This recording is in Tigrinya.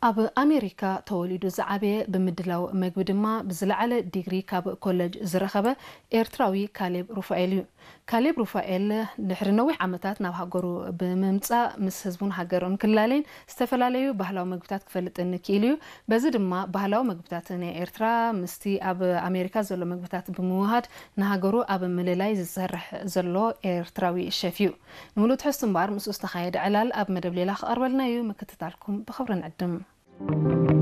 ኣብ ኣሜሪካ ተወሊዱ ዝዓበየ፣ ብምድላው መግቢ ድማ ብዝለዓለ ዲግሪ ካብ ኮለጅ ዝረኸበ ኤርትራዊ ካሌብ ሩፋኤል እዩ። ካሌብ ሩፋኤል ድሕሪ ነዊሕ ዓመታት ናብ ሃገሩ ብምምጻእ ምስ ህዝቡን ሃገሩን ክላለይን ዝተፈላለዩ ባህላዊ መግብታት ክፈልጥን ክኢሉ እዩ። በዚ ድማ ባህላዊ መግብታት ናይ ኤርትራ ምስቲ ኣብ ኣሜሪካ ዘሎ መግብታት ብምውሃድ ንሃገሩ ኣብ ምልላይ ዝሰርሕ ዘሎ ኤርትራዊ ሸፍ እዩ። ንምሉእ ትሕዝቱ እምበኣር ምስኡ ዝተኻየደ ዕላል ኣብ መደብ ሌላ ክቐርበልና እዩ። ምክትታልኩም ብኽብሪ ንዕድም።